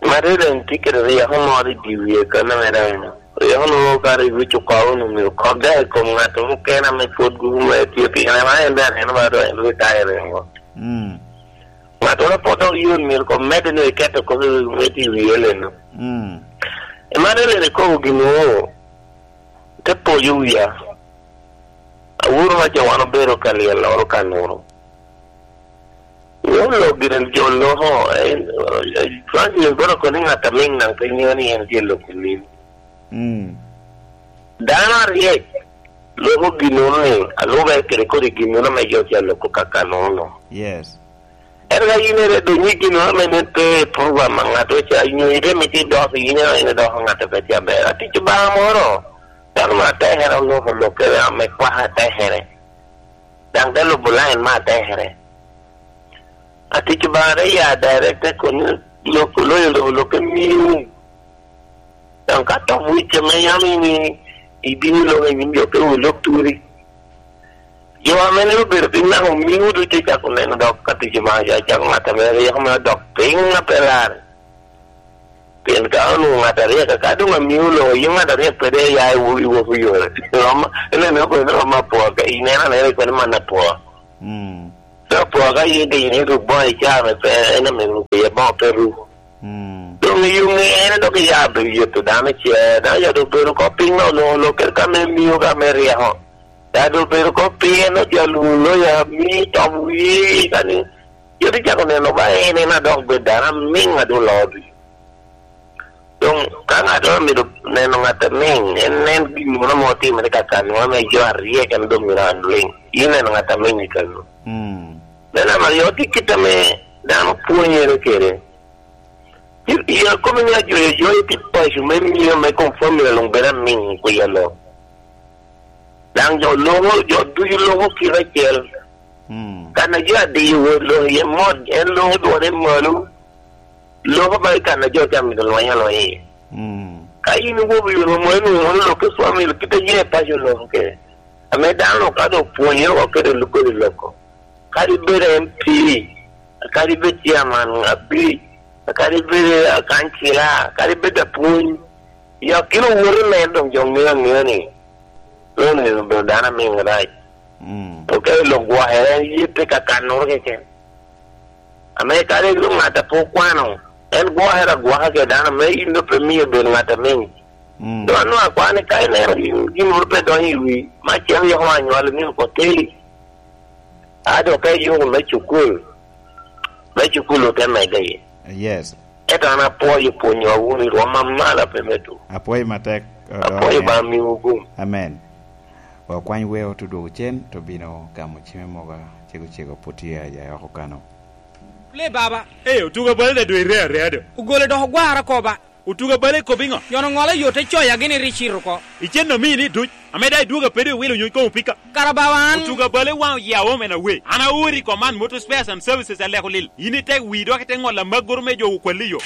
Mate daŋ tye kede ryeko moro i dye wie kan ame daŋ ryeko nwoŋo ka rik wic oko, onwoŋo myero kok daŋ i kom ŋat mukene ame pwod guku mere tye piny. Ema en daŋ aneno ba doŋ en retire oko. Mm. Ŋattoro pwod dok yot myero kong medde nwoŋo iketo kop i wi, me tye i wi Ellen-nu. Mm. Ema Ellen ikobo gin nwoŋo te poyo wia. Awuro ma ca wan obedo ka lyel oro ka nuro. Nyo lok gire jo loko, eh, eh, Francis boro koni ŋat a miŋ naŋ pe ŋeo ni en tye loko lim. Mm. Dano aryek loko ginnono ni, alube kede kodi ginnono ame jo ca loko ka kanono. Yes. Ento ka yin ere dong nyig gin ame nen pe i program a ŋat oca nyo ite mito idok, yin ero in idoko ŋat a pe tye aber. Atic Obaŋa moro, dano ma atekere oloko lokke ame kwaka atekere. Daŋ te lubo lain me atekere. Atic Obaŋa te ya direct te koni lok, loyo lok, lokke miu. Daŋ ka tok wic ame yam in ibino lok i nyim jo pe wi lok turi. Jo ame neno obedo piny naka omiŋo ducu icako neno dok ka tic Obaŋa ca cako ŋat ame ryeko mere odok piny a pe larre. Pien ka Onwoŋo ŋat aryek, ka doŋ amio loŋo, yin ŋat aryek pede ya i wo-, i wok yore. Rom, ineno kwene rom apwoo, ka ineno anena kwene man apwoo. Mm. So apwoo ka yin ka yin iruk boŋo i caa me pe, en ame ruk iye boŋo pe ru. Mm. Doŋ i yuŋ en dok iya bedo yeto dano ce, dano ya doŋ bedo oko piny me olo, olo, kede ka me mio, ka me ryeko. Ya doŋ bedo oko piny, en oja lwongo loya, mi tom wie, ka ni, yot icako neno ba en, en adok bedo dano amiŋ a doŋ loo ducu. Doŋ ka ŋattoro amito neno ŋat amiŋ, en nen gin moro ame otimere ka kan, moro ame jo aryek en doŋ myero an liŋ. Yin neno ŋat amiŋ i kano. Mm. Me namba aryo, tye kit ame dano pwonyere kede. I, i akome ni ajoyo jo i tit paco me mio me kom family luŋ bedo amiŋ i kwi alo. Daŋ jo loko, jo ducu loko kite acel. Mm. Kan a jo adiyo wot loko iye mot, en loko dwone malo. Loko ba i kan a jo ca mito lweny alweny iye. Mm. Ka in iwobo i yo romo, en onwoŋo lok i family, kite ye paco loko kede. Ame dano ka doŋ pwonyere oko kede lukodi loko. Kadi bed M P, kadi bed chairman abic, kadi bed akancila, kadi bed apwony, ya kino woto me doŋ jo ŋeo aŋea ni, lo ni obedo dano amiŋ rac. Mm. Oke lok gwokere, en ye pe ka kannoro keken. Ame kadi lo ŋat a pe okwano, en gwokere agwoka ke dano, me in doŋ pe mio bedo ŋat amiŋ. Mm. Doŋ anwoo akwano ni ka ineno gin, gin moro pe donyo i wi, ma cen yoko anywalo ni oko teli. A doŋ ka iyuko me cukul, me cukul ote medde iye. Yes. Ento an apwoyo pwonyowa wunu i rwom amalo a pe medwu. Apwoyo matek, Odongo Apwoyo Oŋe. Ba miwu gum. Amen. Okwany weo te dwogo cen, te bino gamo cime moga, cego cego pwod tye aya oko kano. Le baba. Ee, otuga bale da dwe ire area do. Ogole dok ogwara ko ba. Otuga bale kobbi ŋo? Yono ŋolo yo te coya gini ri cito oko. Icen omii ni duc, ame daŋ idwogo apedo iwilo nyuc koŋ opika. Kara bawa an. Otuga bale waŋ oye aom en awe. An aori i Command Motor Spares and Services aleko lil. In itek wii dok ite ŋolo amagoro me jo okwalli yo.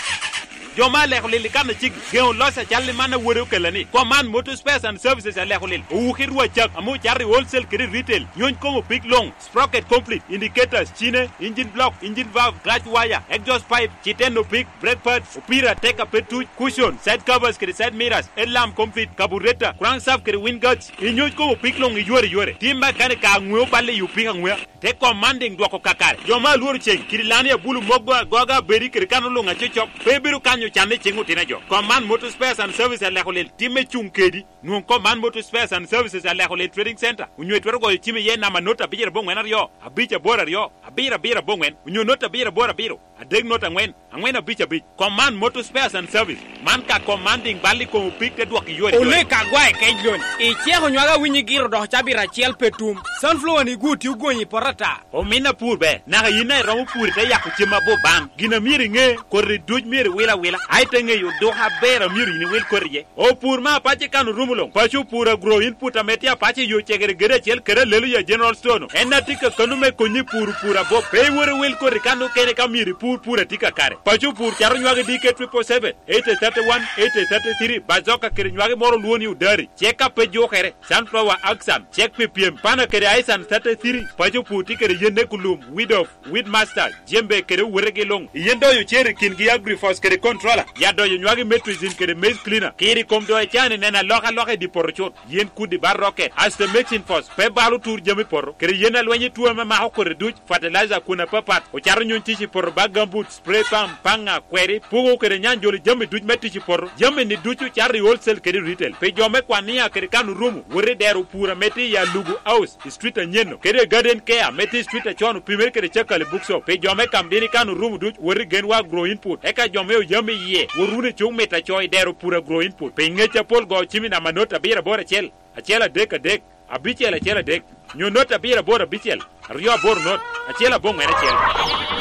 Jo ma aleko lil i kan a ceggi, geŋo loc acal i man a wode okella ni, Command Motor Spares and Services aleko lil. Owuki rwacak, ame ocato i wholesale kede retail. Nyuc koŋ opik luŋ. Sprocket complete, indicators, cine, engine block, engine valve, clutch wire, exhaust pipe, citeno pig, brake pads, opira, teka pe tuc, cushion, side covers kede side mirrors, headlamp complete, carburetor, crankshaft kede wind guards, inyuc koŋ opik luŋ iyore yore. Tim mekanik ka aŋweo balle i opik aŋwea. Te commanding dwoko kakare. Jo ma alworo ceŋ, kidi lani abulu mogo agoga abedi kede kan oluŋ acocok, pe ibino kanyo canne i ceŋ otino jo. Command Motor Spares and Service aleko lel timme cuŋ kedi. Nwoŋ kom man Motor Spares and Services aleko lil Trading Center, onyo itwero goyo cim iye namba not abicel aboŋwen aryo, abic aboro aryo, abiro abiro aboŋwen, onyo not abiro aboro abiro, adek not aŋwen, aŋwen abic abic. Kom man Motor Spares and Service, man ka kom man diŋ bal i kom opik te dwok i yore yore. Olek agwae kec lon, iceko nywag awinyi giro dok cabit acel pe tum. Sunflower ni gwo tye ogonyi i poto ata. Omin apur ber, naka yin a iromo pur ite yako cem abor ban. Gin a myero iŋe, koti duc myero iwil awila, a ite ŋeyo odoko aber a myero yin iwil koti iye. Opur me apac i kan orumo luŋ. Paco opur agro input ame tye apac i yo cegere gede acel kede Aleluya General Store-nu. En a tye ka kano me konyi pur pur abop. Pe iwot iwil koti kan okene ka myero ipur pur a tye kakare. Paco opur cato nywagi D K triple seven, eight thirty one, eight thirty three, bazoka kede nywagi moro olwongo ni odari. Cek ka pe jukere, sunflower action, cek pi pyem, pana kede aisan thirty three, paco pur tye kede yen ekulum, weed off, weed master, jembe kede owetegi luŋ. Yen doyo cer i kingi agrifos kede controller, ya doyo nywagi metricin kede maize cleaner. Kiri kom doyo cani neno alokaloka i di poto cut. Yen kudi bar rocket, asto mixing force, pe balo tur jami poto, kede yen alweny i tuo ame mako kodi duc, fertilizer kun apapat, ocato nyuny tic i poto bag gambut, spray pump, paŋa, kweri, pugo kede nyanjoli jami duc me tic i poto. Jami ni ducu cato i wholesale kede retail. Pi jo me kwania kede kan orumo, wot i dero pur ame tye i Alugu House, i street anyeno, kede i Garden Care ame tye i street acon opimere kede Cakali Bookshop. Pi jo me Kamdini kan orumo duc, wot i Genwa Agro Input. Eka jo me Oyami iye, wot wunu i cuk mita co i dero pur Agro Input. Pi ngec apol go cim i namba not abiro aboro acel, acel adek adek, abicel acel adek, nyo not abiro aboro abicel, aryo aboro not, acel aboŋwen acel.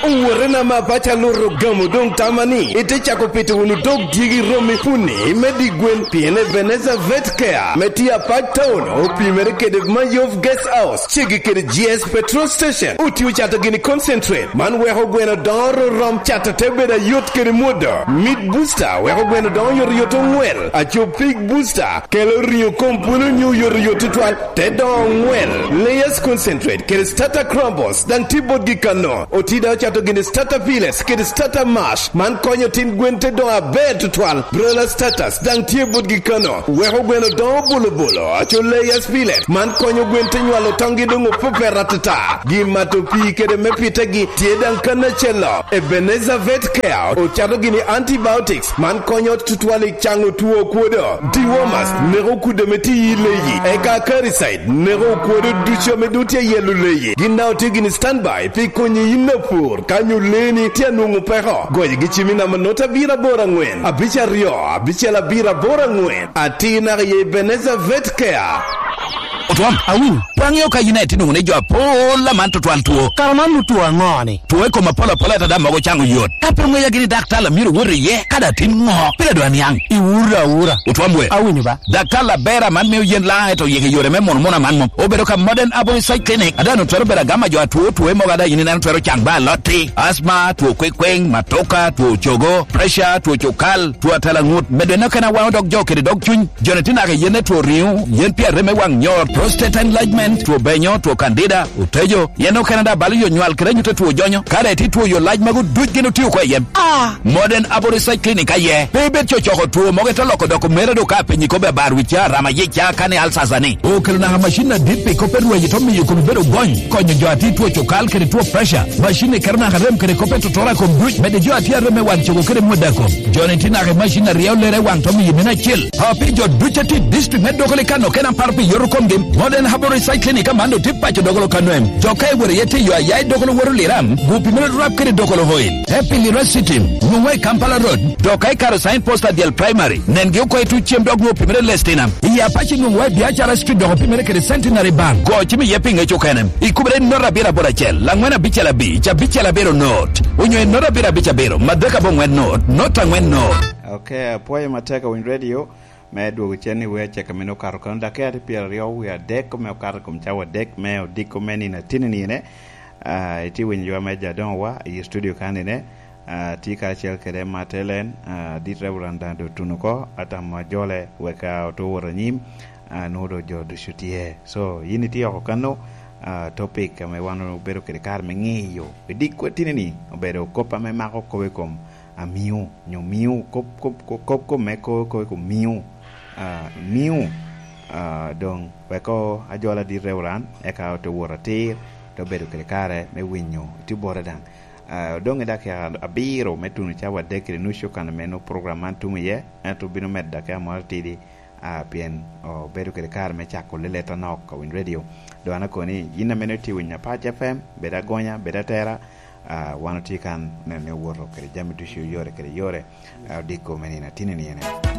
Owote nama paco aluto gamo doŋ tama ni ite cako pito wunu dog dyegi romi puni me di gwen, pien Ebenezer Vet Care me tye apac town opimere kede Mayov Guest House, ceggi kede G S Petrol Station. Otio cato gini concentrate, man weko gweno dongo rorom, cato te bedo ayot kede mwodo. Meat Booster weko gweno dongo yot yot oŋwel. Aco Pig Booster kelo ringo kom pwolo nyo yot yot tutwal, te dongo oŋwel. Layers Concentrate kede Start Starter Crumbles daŋ tye botgi kano. Oti daŋ ocato gini starter pellets kede starter mash, man konyo tin gwen te doŋ aber tutwal. Broiler starters daŋ tye botgi kano. Weko gweno doŋo bulubulu, aco layers pellet, man konyo gwen te nywalo toŋgi doŋ opepet atata. Gin mato pii kede me pitegi tye daŋ kan acel-lo. Ebenezer Vet Care ocato gini antibiotics, man konyo tutwal i caŋo two okwodo. Dewormers neko kudde me tiyi i leyi, eka acaricide neko okwodo ducu ame doŋ tye yelo leyi. Gin daŋ otye gini standby pi konyi yin apur ka nyo leeni tye anwoŋo peko. Goyogi cim i namba nota abiro aboro aŋwen, abic aryo, abicel abiro aboro aŋwen. Atir naka i Ebenezer Vet Care. Otwom, awinyo. Pe aŋeo ka yin aye tye nwoŋo ni jo apol aman tutwal two. Kara man otwo aŋo-ni? Two i kom apol apol ata daŋ mogo caŋo yot. Ka pe oŋeya gini daktar a myero wot iye, kadi atin ŋo, pire doŋ aniaŋ. Iwura awura. Otwom we. Awinyo ba. Daktar Labera man mio yen laŋ eto yik i yore me mono mono aman mom. Obedo ka Modern Aboriginal Clinic, a daŋ onwero twero bedo agama jo atwo, two mogo a daŋ yin ineno twero caŋ ba alotti, asma, two kwekweŋ, matoka, two cogo, pressure, two cukal, two atalaŋut, medo eno kena waŋo dog jo kede dog cuny. Joni tye naka i yen two riŋo, yen pi arem me waŋ nyor, prostate enlargement, two benyo, two candida, otejo, yen okene daŋ balo yo nywal kede anyut two jonyo. Ka daŋ itye two yo lac magu duc gin otio oko i yen. Ah! Modern Aboriginal Clinic aye. Pe ibed cocoko two mogo ite loko doko mere do ka piny ikobe abar wi ca, rama yic ca, kani alsasa ni. Okelo naka macin adit pi kop erweyi to miyo kome bedo gony, konyo jo ati two cukal kede two pressure. Macin ni keto naka rem kede kop etotora kom duc, mede jo ati arem me wan cogo kede mwada kom. Joni tye naka i macin aryo lere waŋ to miyo mene acel. A pi jo duc ati district me Dokoli kano kena paro pi yoto komgi. Modern Herbal Recycling i Kamando tye paco Dokolo Kanoem. Jo ka iwero iye tiyo aya i Dokolo woto Liram, gu pi mene rap kede Dokolo Oil. Happy Lira City, nwoŋwa i Kampala Road. Dok ka ikaro sign post adyel primary, nengi oko i tuc cem dok nwoŋo pi mene Lestina. I Apache nwoŋwa i Biacara Street dok pi mene kede Centenary Bank. Go cim iye pi ŋec okene. Ikubere i note abiro aboro acel, laŋwen abicel abic, abicel abiro not. Onyo i note abiro abic abiro, madek aboŋwen not, not aŋwen not. Ok, apwoyo matek awiny radio me dwogo cen i wer cek a mene okato kano dakika tye pyeraryo wie adek me okato i kom cawa adek me odiko me nino atinini ene. Ah, itye winyo ywa me Jadoŋ wa i studio kanine. Ah, tye karacel kede Martelen, ah, dit Reverend Dando Tunuko, atamo ajole wek, ah, oto wot anyim, ah, nwoŋo doŋ jo ducu tye. So, yin itye oko kano, ah, topic ame wan obedo kede kare me ŋeyo. I dikwa tinini obedo kop ame mako kop i kom amiu, nyo miu, kop, kop, kop, kop, kop me ko, ko, ko miu, ah, miu, ah, doŋ wek o-, ajola dit Reverend, eka ote wot atir, te obedo kede kare me winyo tye bote daŋ. Ah, odoŋ i dakika abiro me tuno cawa adek kede nucu kan ame nwoŋo program man tumo iye, ento obino medo dakika moro atidi, ah, pien obedo kede kare me cako leleta nok a Winy Radio. Doŋ an akoni, yin ame nwoŋo itye winyo Apac F M, bed agonya, bed atera, ah, wan otye kan neno ni owoto kede jami ducu yore kede yore, ah, odiko me nino atinini ene.